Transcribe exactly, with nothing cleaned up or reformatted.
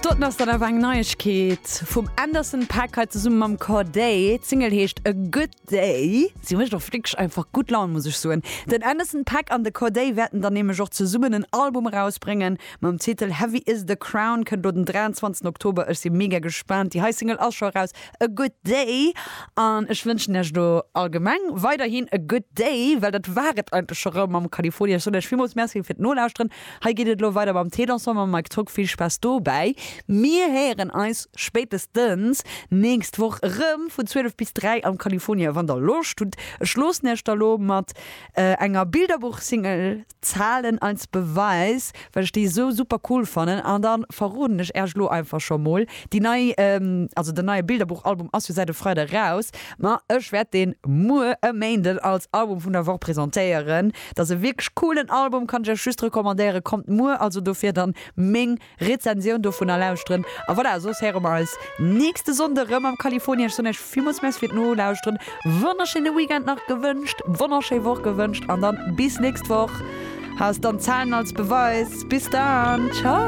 Doten ass dann awer eng Neiegkeet vum Anderson .Paak hei zesumme mam Cordae. D'Single heescht A Good Day. Si mécht och wierklech einfach gutt Laun, muss ech soen. Den Anderson .Paak an de Cordae wäerten dann nämlech och zesummen en Album erausbréngen mam Titel Heavy Is the Crown, kënnt do den dräianzwanzegsten Oktober. Ech si mega gespaant. Déi hei Single ass scho eraus, A Good Day. An ech wënschen iech do allgemeng weiderhin a good day, well dat war et eigentlech scho rëm mam California. Ech soen iech villmools Merci fir d'Nolauschteren. Hei geet et elo weider mam Téléensemble mam Mike Tock. Vill Spaass dobäi. Mir héieren eis spéitestens nächst Woch erëm vun zwielef bis dräi am California, wann der Loscht hutt. Ech loossen iech da lo mat enger Bilderbuch-Single Zahlen als Beweis, well ech déi esou super cool fannen. An da verroden ech iech lo einfach scho mol, déi nei, also den neie Bilderbuch-Album ass jo säit e Freide raus, ma ech wäert deen muer e Méinden als Album vun der Woch presentéieren. Dat ass e wierklech coolen Album, kann ech iech just recommandéieren. Kommt muer also dofir dann meng Rezensioun dovunner lauschteren. A voilà, soss héiere mer eis nächste Sonnde rëm am California. Ech soen iech villmools Merci fir d'Nolauschteren, wonnerschéine Weekend nach gewënscht, wonnerschéi Woch gewënscht an dann bis nächst Woch. Hast dann Zahlen als Beweis. Bis dann, ciao!